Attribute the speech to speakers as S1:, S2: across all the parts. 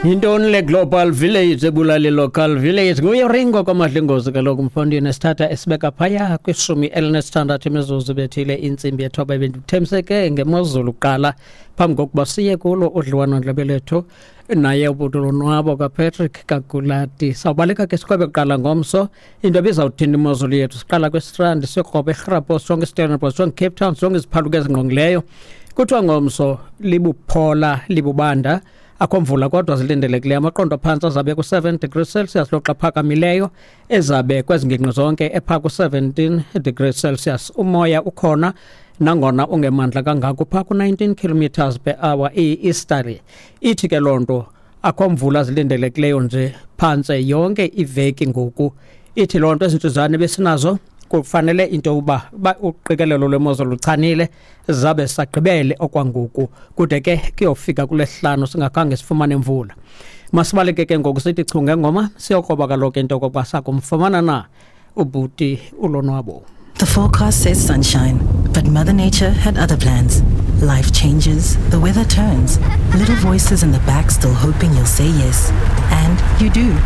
S1: Yintoni le global village ebulala local village? Nguye Ringo kwaMadlingozi kaloku mfondini, esithatha esibeka phaya kwi-16 imizuzu bethile intsimbi yethoba. Bendithembiseke ngemozulu kuqala phambi kokuba siye kulo udliwano-ndlebe lethu naye ubhuti Lonwabo kaPatrick Kagulati. Sawubaleka ke sikhwebe kuqala ngomso into ebizawuthini imozulu yethu. Siqala kwiStrand, siyokroba eRhrapos, sonke iStellenbosch, sonke Cape Town, sonke iziphaluka ezingqongileyo. Kuthiwa ngomso libuphola libubanda, akho mvula kodwa zilindelekileyo. Amaqondo aphantsi azabe ku-7 degrees Celsius, loxa phakamileyo ezabe kwezi ngingqi zonke epha ku-17 degrees Celsius. Umoya ukhona nangona ungemandla kangako, phaa ku-19 kilometers per hour i-easterly. Ithi ke loo nto akho mvula zilindelekileyo nje phantse yonke iveki ngoku. Ithi loo nto ezintsuzane besinazo kufanele into yokuba uqikelelo lwemozulu luchanile, zabe sagqibele okwangoku kude ke kuyofika kulesihlanu singakhange sifumane mvula. Masibaleke ke ngoku sithi chu ngengoma, siyokroba kaloku into yokokuba sakumfumana na ubhuti uLonwabo.
S2: The forecast says sunshine, but Mother Nature had other plans. Life changes, the weather turns, little voices in the back still hoping you'll say yes. And you do.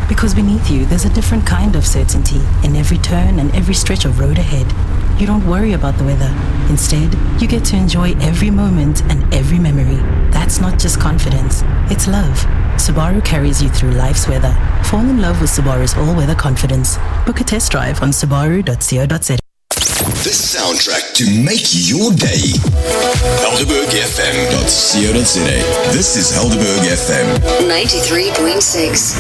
S2: Because beneath you, there's a different kind of certainty in every turn and every stretch of road ahead. You don't worry about the weather. Instead, you get to enjoy every moment and every memory. That's not just confidence, it's love. Subaru carries you through life's weather. Fall in love with Subaru's all-weather confidence. Book a test drive on subaru.co.za.
S3: The soundtrack to make your day. HelderbergFM.co.za. This is Helderberg FM.
S4: 93.6.